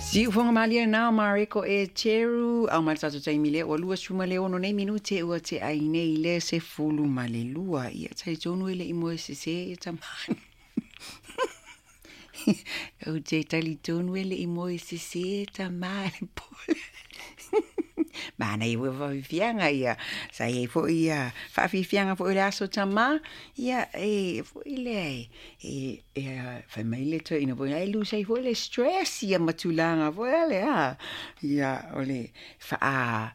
Siufoga malie na Mareko e Cheru au mai le tatou taimi lea ua 26 nei minute ua tea ai nei le 12. Ia talitonu e le i moe sesē ia tamā. Ou te talitonu e le i moe sesē tamā le pole. Manaia foi faafiafiaga ia sa iai foi ia faafiafiaga foi o le aso tamā ia e foi lea e e fai mai le toeaina foi e lose ai foi le stress ia ma tulaga foi lale a ia o le faa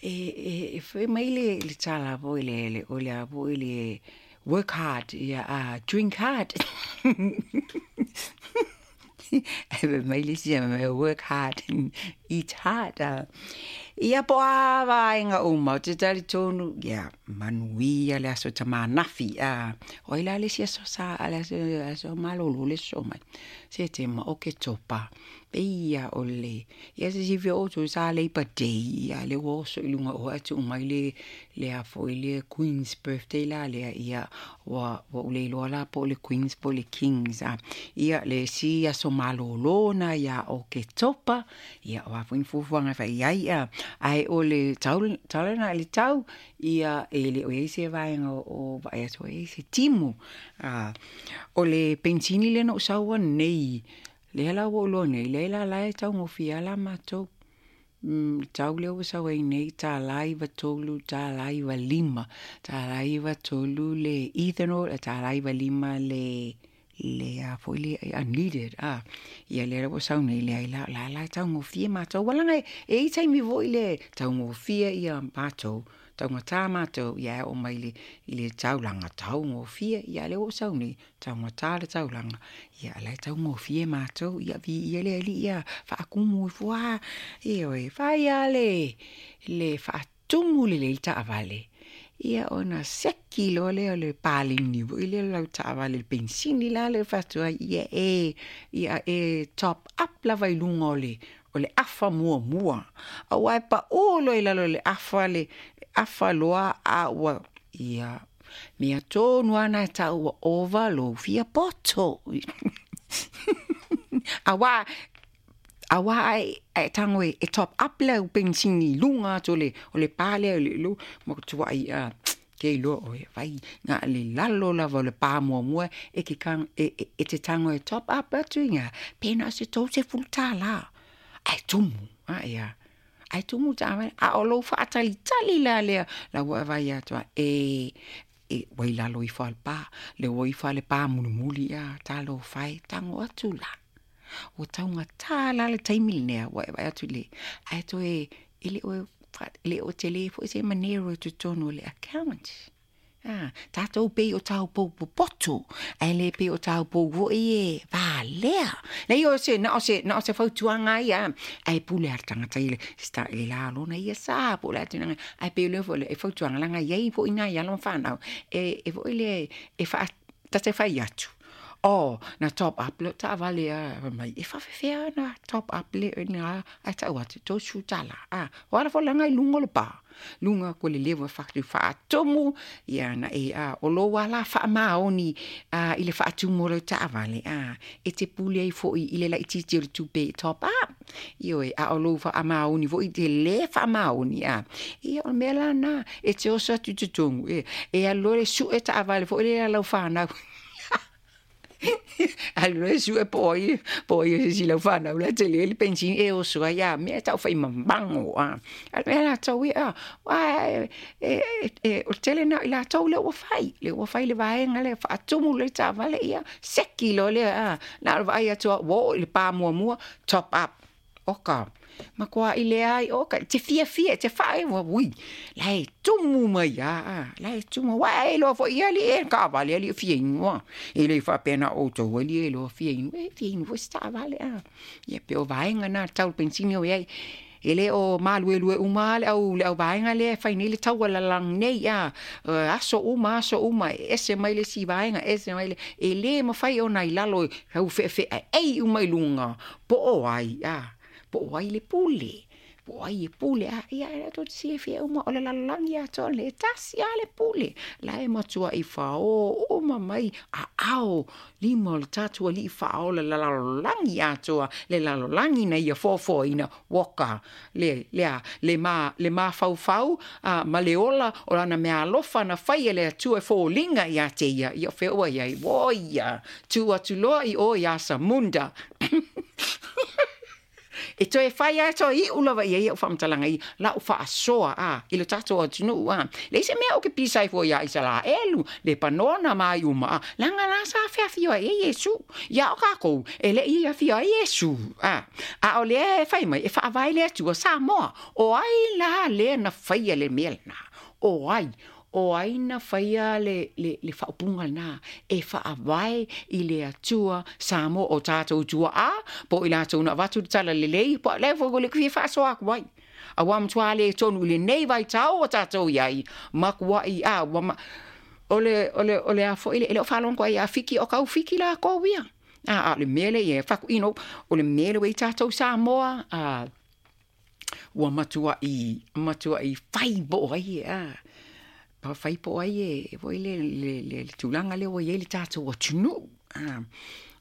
e e fai mai le tala foi lele o le a foi le work hard ia a drink hard. Ae fai mai le isi work hard eat hard. Ia po o a vaega uma ou te talitonu ia manuia le aso tamanafi a o ai la le isi aso sa le aso malolo le aso mai Setema Oketopa pei ia o le ia se silafia outou sa Labour Day ia lea ua oso i luga o ae tuu mai le le a foi le Queen's Birthday la lea ia ua ua ou le iloa la po o le Queen's po o le King's a ia le isi aso malolo na ia Oketopa ia o a foi ni fuafuaga e fai i ai a ae o le tau tala lena i le tau ia e le o i ai se vaega o vaai atu ai se timu a o le penisini lea na ou sau ai nei lea la ua ou iloa nei lea la la e taugofie lava la matou le tau lea ua sau ai nei $93 $95 $93 le ethanol $95 le le a foi le unleaded a ia lea ua sau nei leai la la la e taugofie matou ua laga e i ai taimi foi le taugofie ia matou taugata matou ia e oo mai le i le taulaga taugofie ia lea ua ou sau nei taugata le taulaga ia a la e taugofie matou ia viia le Alii ia faatumu ifo lava ioe fai lava le le faatumu lelei le taavale ia ona seki loa lea o le paleni foi lea o lau taavale i le penisini la lea e fai atu ai ia e ia e top up lava i luga o le o le afa muamua aua e pau loa i lalo o le afa le afa loa a ua ia mea tonu lava na e tau ua ova lou fia poto. Aua aua ae ae tago e top up lau penisini i luga atu o le o le pa lea le lu ma tuai a ke iloa oe fai na o le lalo lava o le pa muamua e te e te tago e top up atu i ina pe na o se $30 ae tumu a ia ae tumu taavale a o lou faatalitali la lea la ua e vaai atu ai e e ua i lalo ifo lava o le pa le ua ifo lava le pa mulimuli a talofa e tago atu la ua taugata la le taimi lenei ua e vaai atu i le ae toe e le o e le o tele foi se manero i totonu o le account. A, tatou pei o taupou popoto, ae le pei o taupou foi e valea. Leai o se, na o se, na o se fautuaga ia, ae pule lava le tagata i le, i le la lona ia sa po o le a tulaga, ae pei o lea foi e fautuaga leaga e i ai foi nai alo ma fanau e, e foi lea e faa, ta te fai atu, oh, na top up lau taavale a, fai mai, e faafefea ona top up le na, ae tau atu, $30, a, o ala foi leaga i luga o le pa. Luga atu o le leva faatumu ia na e a o lou lava la faamaoni a i le faatumu o lau taavale a e te pule ai foi i le laitiiti o le tupe e top up. Ioe, a o lou faamaoni foi te lē faamaoni a ia o le mea la lena e te oso atu i totonu e e alu loa e sue taavale foi lea a lau fanau. Alu loa e sue po o ai po o ai o se isi o lau fanau la e tele le penisini e oso ai a mea e tau fai mamago a. A o le mea latou ia aua e o le tele lena o i latou lea ua fai, lea ua fai le vaega lea faatumu le taavale ia seki loa lea a. Na o le vaai atu lava ua oo i le pa muamua top up. Oka, matuai leai, oka, e te fiafia, e te faaewa, ui, la e tumu mai lava, a, la e tumu, aua a e iloa foi e alii e taavale, alii e fia inu, a. E le faapea na o outou alii e iloa fia inu, e fia inu foi se taavale, a. Ia pei o vaega na tau penisini o i ai. E le o maluelue uma lava le au le au vaega lea e fai nei le taua lalagi nei, a, aso uma, aso uma, e ese mai le isi vaega, ese mai le, e le mafai ona i lalo i au fe'efe'aeai uma i luga, po o ai, a, po o ai le pule. Po o ai e pule, a, ia, e tou te silafia uma, o le lalolagi atoa lenei, e tasi lava le pule, la e matuai faō uma mai aao lima o le tatou Alii Faaola le lalolagi atoa, le lalolagi na Ia foafoaina, oka, le, le a, le ma, le mafaufau, a, ma le ola o Lana meaalofa na faia e le Atua e foliga ia te Ia, ia o fea ua i ai? O ia, tū atu loa i o i Asamunda. E toe fai lava, e toe iu lava i ai au faamatalaga i lau faasoa a i lo tatou atunuu a. Leai se mea ou ke pisa ai fua iā Isalaelu, Lepanona ma ai uma a, leaga la sa feafio ai e Iesu. Ia o kākou, e le i afio ai Iesu a. A o lea e fai mai, e faavae le Atua Samoa. O ai la lea na faia le mea lena? O ai? O ai na faia le, le, le faaupuga lena e faavae i le Atua Samoa o tatou tuaa, po o i latou na avatu le tala lelei, po o lea foi ua le fia faasoa atu ai. Aua matua le tonu i lenei vaitau ua tatou i ai, makuai a, ua ma, o le, o le, o le a foi le, e le o faalogo ai ia Fiki o kau Fiki lakou ia. A, a o le mea lea i ai, fai atu, you know, o le mea lea ua i ai tatou Samoa, a, ua matuai, matuai fai po o ai e, a, pa fai po o ai e, foi le, le, le, le tulaga lea ua i ai le tatou atunuu. A,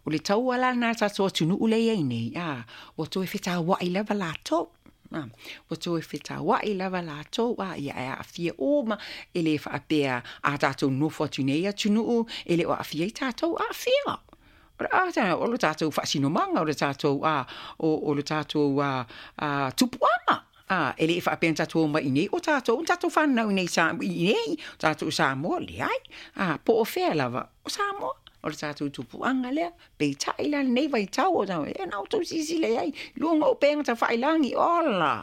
o le taua la lena a le tatou atunuu lea e i ai nei, a, ua toe fetauai lava latou. A, ua toe fetauai lava latou, a, ia e aafia uma, e le faapea a tatou nofo atu i nei atunuu, e le o aafia ai tatou, aafia. O le tatou faasinomaga, o le tatou, a, o, o le tatou, a, a, tupuaga. A, e le i faapea na tatou omai i inei, o tatou, na tatou fanau i inei sa, i inei, o tatou Samoa, leai. A, po o fea lava, o Samoa, o le tatou tupuaga lea. Peitai la lenei vaitau, o tatou, e na outou silasila i ai, luga o upega tafailagi, ola!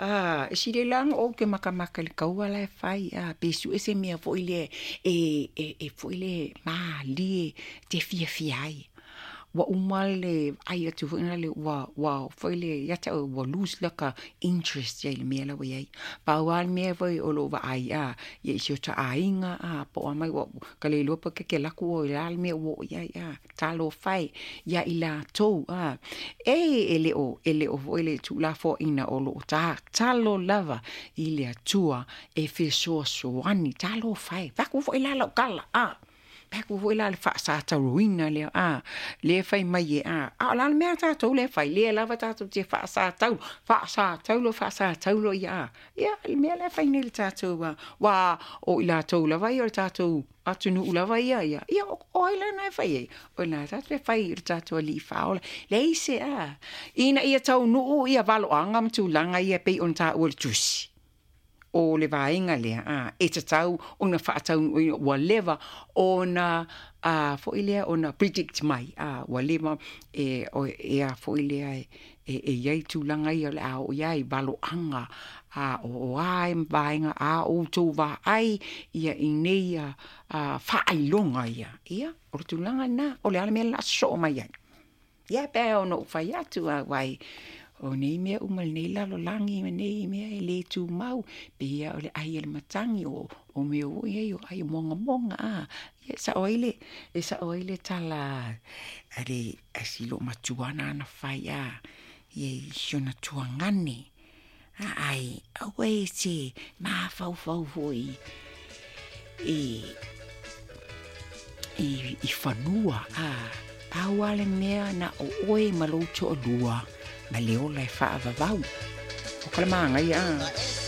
A, e sili la ona ou te makamaka i le kaua la e fai, a, pe sue se mea foi lea e, e, e foi lea malie te fiafia ai. Ua uma le vaai atu foi lea ua, ua foi lea ia te au ua lose laka interest ia i le mea la ua i ai. Pau lava le mea foi o lou vaai, a, ia i si ota aiga, a, po o a mai ua, ka le iloa pe keke alu atu oe o le a le mea ua oo i ai, a. Talofa e iā i latou, a, e, e le o, e le o foi le tuulafoaiina o lo o tatalo lava i le Atua e fesoasoani. Talofa e, fai atu foi la lau tala, a, fai atu foi la le faasatauroina lea, a, lea e fai mai e, a, a o le a le mea a tatou lea e fai, lea lava tatou te faasataulo, faasataulo, faasataulo ia, a, ia, le mea lea e fai nei le tatou, a, aua o i latou lava ia o le tatou atunuu lava ia, ia, ia, o ai lena e fai ai? O lena tatou e fai i le tatou Alii Faaola. Leai se a, ina ia taunuu ia valoaga ma tulaga ia e pei ona taua i le Tusi. O le vaega lea, a, e tatau ona faataunuuina, ua leva ona, a, foi lea, ona predict mai, a, ua leva e, o, e a foi lea e, e, e i ai tulaga ia o le a oo i ai valoaga, a o a e vaega a outou vaai ia i nei a, a faailoga ia. Ia, o le tulaga lena, o le a le mea le a sosoo mai ai. Ia, pe ona ou fai atu, a wai, o nei mea uma lenei lalolagi ma nei mea e le tumau, pei ia o le ai a le matagi, o, o mea foi ai o ai mogamoga, a, ia e sao ai le, e sao ai le tala a le, a si loomatua nāna fai, a, ia i si ona tuagane, a, ai, aua e te mafaufau foi i, i, i fanua, a, pau lava le mea na o oe ma lou toalua ma le ola e faavavau. O ka le mānaia, a.